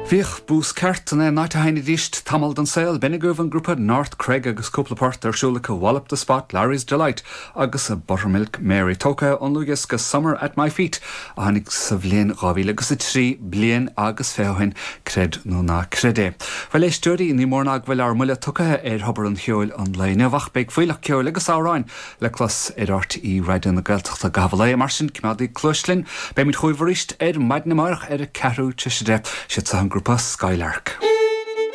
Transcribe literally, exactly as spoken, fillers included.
Bhíodh bús ceart in aon áit a sheinnidís tamall den saol b'in agaibh an grúpa North Cregg agus cúpla port ar siúl acu Wallop the Spot, Larry's Delight agus a Buttermilk Mary tógtha ón dlúthdhiosca Summer at My Feet a tháinig sa bhliain dhá mhíle agus a trí bliain agus fiche ó shin creid nó ná creid é. Bhuel a éisteoirí ní mór ná go bhfuil ár mbuille tugtha ar thobar an cheoil an lae inniu ach beidh fuílleach ceoil agus amhráin le clos ar RTÉ Raidió na Gaeltachta i gcaitheamh an lae mar sin coimeádaigí cluas linn, Beimid chugaibh arís ar maidin amárach ar a ceathrú tar éis a deich siad seo an grúpa Skylark.